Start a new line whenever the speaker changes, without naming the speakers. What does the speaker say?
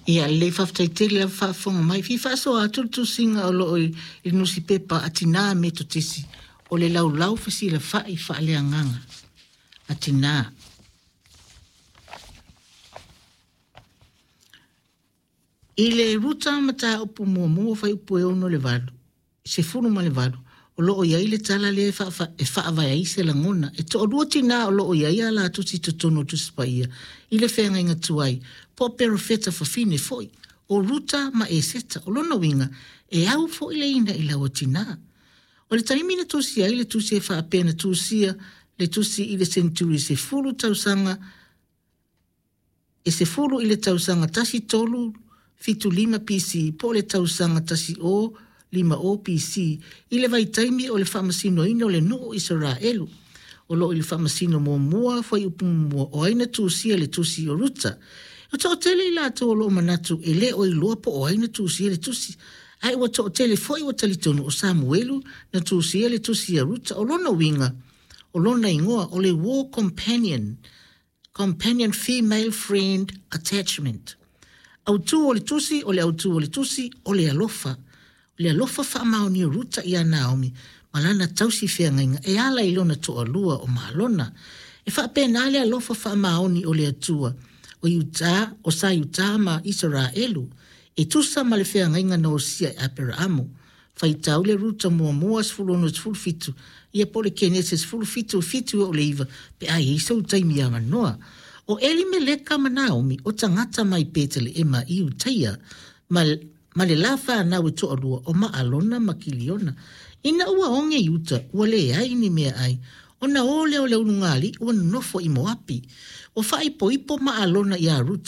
Ia lelei, faafetai tele lava faafofoga mai. Fia faasoa atu le tusiga o lo o i le nusipepa a Tina Metotisi o le Laulau Fesilafai Faaleagaga a Tina. I le Ruta mataupu muamua fuaiupu e 6 i le 8, 18, o lo o i ai le tala lea e faavae ai se lagona. E toalua tinā o lo o i ai a la tusi i totonu o Tusi Paia i le feagaiga tuai, po o perofeta fafine foi, o Ruta ma Eseta. O lona uiga, e au foi le ina i laua tinā. O le taimi na tusia ai le tusi e faapea na tusia le tusi i le seneturi 10 tausaga e 10 i le tausaga 1375 BC po o le tausaga 1050 BC i le vaitaimi o le faamasinoina o le nuu o Isaraelu. O lo o i le faamasino muamua fuaiupu muamua o ai na tusia le tusi o Ruta. E toatele i latou o lo o manatu e le o iloa po o ai na tusia le tusi, ae ua toatele foi ua talitonu o Samuelu na tusia le tusi a Ruta. O lona uiga, o lona igoa o le War Companion, Companion Female Friend Attachment. Autu o le tusi, o le autu o le tusi, o le alofa. O le alofa faamaonia o Ruta iā Naomi ma lana tausi feagaiga e ala i lona toalua o Malona. E faapena le alofa faamaoni o le Atua o Iutā, o sa Iutā ma Isaraelu, e tusa ma le feagaiga na osia e Aperaamo. Faitau le Ruta muamua 16 17, ia po o le Kenese 17, 7 e oo i le 9, pe a i ai sou taimi avanoa. O Elimeleka ma Naomi, o tagata mai Peteleema i Iutaia, ma, ma le la fanau e toalua o Maalona ma Kiliona. Ina ua oge Iuta, ua leai ni meaai, ona o lea o le ulugalii ua nonofo i Moapi. Ua faaipoipo Maalona iā Ruta.